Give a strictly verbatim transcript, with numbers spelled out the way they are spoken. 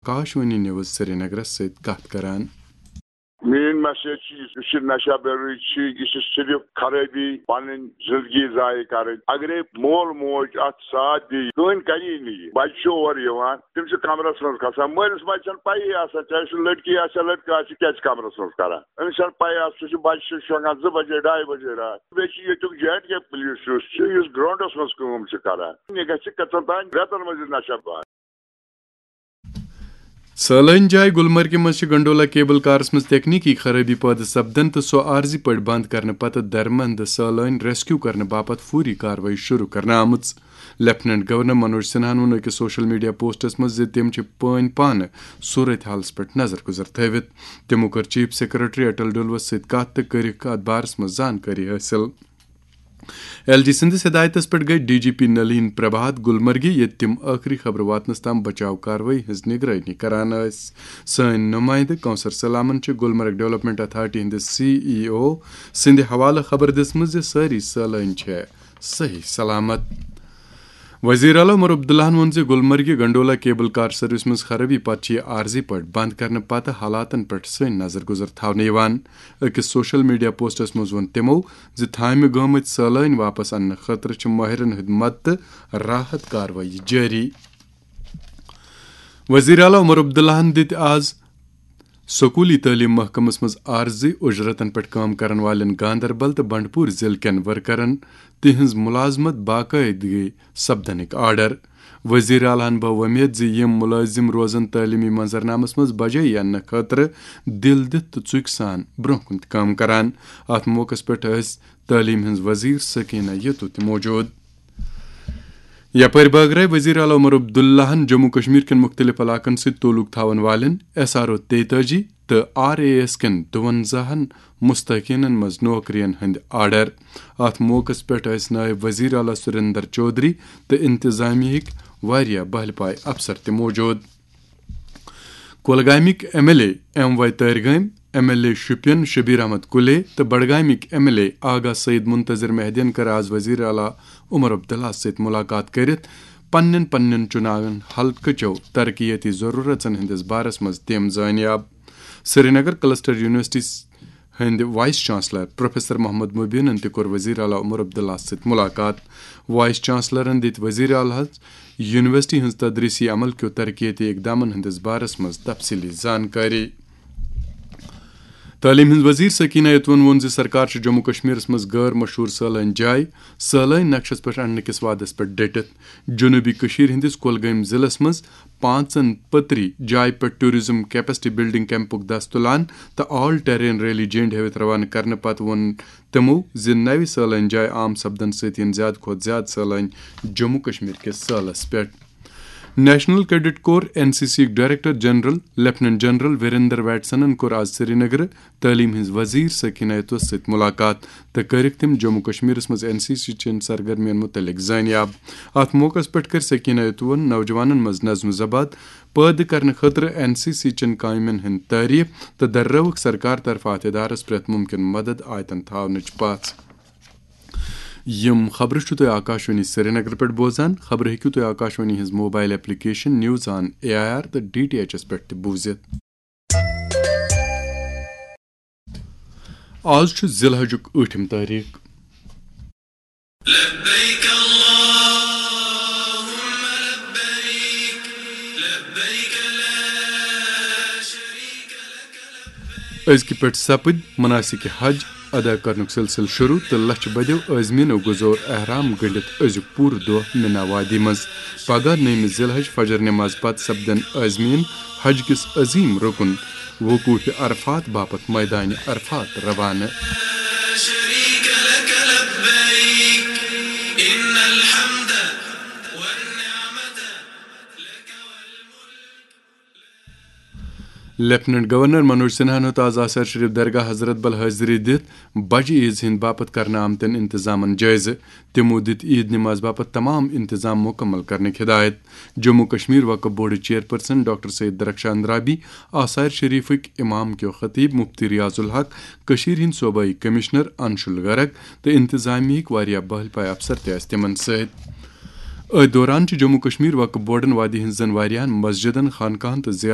Akashvani news سرینگرس سۭتۍ کتھ کران۔ میٲنۍ میسیج چھِ یہِ، یُس یہِ نشہ بے روزی چھِ، یہِ چھِ صرف خرٲبی، پنٕنۍ زندگی ضایع کرٕنۍ۔ اگرے مول موج اتھ ساتھ دِیہِ، کٕہٕنۍ کری نہٕ یہِ۔ بچہِ چھُ اورٕ یِوان، تِم چھِ کمرس منٛز کھسان، مٲلِس ماجہِ چھنہٕ پیی آسان، چاہے سُہ لڑکی آسہِ یا لڑکہٕ آسہِ، یہِ کیازِ چھِ کمرس منٛز کران؟ أمِس چھنہٕ پیی آسان، سُہ چھُ، بچہِ چھُ شۄنٛگان زٕ بجے، ڈاے بجے راتھ۔ بیٚیہِ چھُ ییٚتیُک جے اینڈ کے پُلیٖس یُس چھُ، یُس گراؤنڈس منٛز کٲم چھُ کران، یہِ گژھِ کٔژن تام رٮ۪تن منٛز یہِ نشہ بند۔ سٲلٲنۍ جاے گلمرگہِ منٛز چھِ گنڈولا کیبل کارس منٛز تکنیکی خرٲبی پٲدٕ سپدن تہٕ سۄ عارضی پٲٹھۍ بند کرنہٕ پتہٕ درمند سٲلٲنۍ ریسکیو کرنہٕ باپتھ فوری کاروٲیی شروع کرنہٕ آمٕژ۔ لیفٹیننٹ گورنر منوج سنہاہن ووٚن أکِس سوشل میڈیا پوسٹس منٛز زِ تِم چھِ پٲنۍ پانہٕ صورت حالس پٮ۪ٹھ نظر گُزر تھٲوِتھ۔ تِمو کٔر چیف سیکرٹری اٹل ڈلوس سۭتۍ کتھ تہٕ کٔرٕکھ اتھ بارس منٛز زانکٲری حٲصِل۔ ایل جی سٕنٛدِس ہدایتس پٮ۪ٹھ گٔیہِ D G P Nalin Prabhat گلمرگہِ، ییٚتہِ تِم ٲخری خبرٕ واتنس تام بچاو کاروٲیی ہٕنٛز نگرٲنی کران ٲسۍ۔ سٲنۍ نمائندٕ کونسر سلامن چھِ گلمرگ ڈیولپمنٹ اتھارٹی ہٕنٛدِس سی ای او سٕنٛدِ حوالہٕ خبر دِژمٕژ زِ سٲری سٲلٲنۍ چھِ صحیح سلامت۔ وزیر اعلیٰ عمر عبداللہن ووٚن زِ گلمرگہِ گنڈولا کیبل کار سروس منٛز خرٲبی پتہٕ چھِ یہِ عارضی پٲٹھۍ بند کرنہٕ پتہٕ حالاتن پٮ۪ٹھ سٲنۍ نظر گُزر تھاونہٕ یِوان۔ أکِس سوشل میڈیا پوسٹس منٛز ووٚن تِمو زِ تھامہِ گٲمٕتۍ سٲلٲنۍ واپس اننہٕ خٲطرٕ چھِ مٲہرن ہٕنٛدِ مدتہٕ راحت کاروٲیی جٲری۔ وزیر اعلیٰ عمر عبداللہن دِتۍ آز سکوٗلی تعلیٖم محکمس منٛز عارضی اُجرتن پٮ۪ٹھ کٲم کرن والٮ۪ن گاندربل تہٕ بنڈپور ضلعہٕ کٮ۪ن ورکرن تِہنٛز مُلازمت باقٲعدگی سپدنٕکۍ آرڈر۔ وزیر اعلیٰ ہن بٲو وۄمید زِ یِم مُلٲزِم روزن تعلیٖمی منظرنامس منٛز بجٲیی اننہٕ خٲطرٕ دِل دِتھ تہٕ ژُکۍ سان برٛونٛہہ کُن تہِ کٲم کران۔ اتھ موقعس پٮ۪ٹھ ٲسۍ تعلیٖم ہٕنٛز وزیر سکینہ یتو تہِ موجود۔ یپٲرۍ بٲگرٲے وزیر اعلیٰ عمر عبداللہن جموں کشمیر کٮ۪ن مُختٔلِف علاقن سۭتۍ تعلق تھاون والٮ۪ن ایس آر او تیتٲجی تہٕ آر اے ایس کٮ۪ن دُوَنزاہن مستحقینن منٛز نوکرین ہٕنٛدۍ آرڈر۔ اتھ موقعس پٮ۪ٹھ ٲسۍ نٲیِب وزیر اعلیٰ سریندر چودھری تہٕ انتظامیہٕکۍ واریاہ بہلہِ پایہِ افسر تہِ موجود۔ کۄلگامٕکۍ M L A M Y Tarigami, M L A Shopian Shabir Ahmad Kullay تہٕ بڈگامٕکۍ M L A Agha Syed Muntazir مہدین کٔر آز وزیر اعلیٰ عمر عبداللہ سۭتۍ مُلاقات کٔرِتھ پننٮ۪ن پننٮ۪ن چُناون حلقہٕ چٮ۪و ترقیتی ضروٗرژن ہٕنٛدِس بارس منٛز تِم زٲنیاب۔ سرینگر کلسٹر یونیورسٹی ہٕنٛدۍ وائس چانسلر پروفیسر محمد مبینن تہِ کوٚر وزیر اعلیٰ عمر عبداللہ سۭتۍ مُلاقات۔ وائس چانسلرن دِتۍ وزیر اعلیٰ ہس یونیورسٹی ہٕنٛز تدریسی عمل کیو ترقیتی اقدامن ہٕنٛدِس بارس منٛز تفصیلی زانکٲری۔ تعلیٖم ہٕنٛز وزیر سکینہ یتون ووٚن زِ سرکار چھِ جموں کشمیرس منٛز غٲر مشہوٗر سٲلٲنۍ جاے سٲلٲنۍ نقشس پٮ۪ٹھ اننہٕ کِس وعدس پٮ۪ٹھ ڈٔٹِتھ۔ جنوبی کٔشیٖر ہٕنٛدِس کۄلگٲمۍ ضلعس منٛز پانٛژن پٔتری جایہِ پٮ۪ٹھ ٹورازم کیپیسٹی بلڈنگ کیمپُک دَس تُلان تہٕ آل ٹیرین ریلی جینڈ ہٲوِتھ روانہٕ کرنہٕ پتہٕ ووٚن تِمو زِ نوِ سٲلٲنۍ جایہِ عام سپدنہٕ سۭتۍ یِن زیادٕ کھۄتہٕ زیادٕ سٲلٲنۍ جموں کشمیر کِس سٲلس پٮ۪ٹھ۔ National cadet corps, N C C یُک director general lieutenant general Virender ویٹسنن کوٚر آز سرینگرٕ تعلیٖم ہٕنٛز وزیر سکینہ یتوس سۭتۍ مُلاقات تہٕ کٔرٕکھ تِم جموں کشمیرس منٛز این سی سی چٮ۪ن سرگرمین مُتعلق زٲنیاب۔ اتھ موقعس پٮ۪ٹھ کٔر سکینہ یتوَن نوجوانن منٛز نظم و ضبط پٲدٕ کرنہٕ خٲطرٕ این سی سی چٮ۪ن کامٮ۪ن ہٕنٛد تعریف تہٕ دررٲوٕکھ سرکار طرفہٕ اتھ ادارس پرٛٮ۪تھ مُمکِن مدد آیتن تھاونٕچ پژھ۔ یِم خبرٕ چھِو تُہۍ آکاشوانی سرینگر پٮ۪ٹھ بوزان۔ خبرٕ ہیٚکِو تُہۍ آکاشوانی ہٕنٛز mobile application news on A I R تہٕ ڈی ٹی ایچ ایس پٮ۪ٹھ تہِ بوٗزِتھ۔ آز چھُ ذی الحجُک ٲٹھِم تٲریٖخ۔ لبيك اللهم لبيك، لبيك لا شريك لك لبيك۔ أزکہِ پٮ۪ٹھ سپٕدۍ مناسک حج ادا کرنُک سلسلہٕ شروع تہٕ لچھِ بٔدیو عازمیٖنو گُزور احرام گٔنڈِتھ أزیُک پوٗرٕ دۄہ مِنا وادی منٛز۔ پگاہ نٔیمہِ ذی الحج فجر نماز پتہٕ سپدن عازمیٖن حج کِس عظیٖم رُکُن وقوف عرفات باپتھ میدانِ عرفات روانہٕ۔ شريك لك لبيك، إن الحمد والنعمة لك والملك۔ لیفٹیننٹ گورنر منوج سنہاہن ہیوٚت آز آثار شریف درگاہ حضرت بل حٲضری دِتھ بجہِ عیز ہٕنٛدِ باپتھ کرنہٕ آمتٮ۪ن انتظامن جٲیزٕ۔ تِمو دِتۍ عید نماز باپتھ تمام انتظام مکمل کرنٕکۍ ہدایت۔ جموں کشمیر وقف بورڈٕچ چیئرپرسن ڈاکٹر سید درخشان رابی، آثار شریفٕکۍ امام کیو خطیب مفتی ریاض الحق، کٔشیٖرِ ہٕنٛدۍ صوبٲئی کمشنر انشول گرگ تہٕ انتظامیہٕکۍ واریاہ بہل پایہِ افسر تہِ ٲسۍ تِمن سۭتۍ۔ أتھۍ دوران چھُ جموں کشمیر وقف بورڈن وادی ہٕنٛزن واریاہن مسجدن، خانقاہن تہٕ زیارتن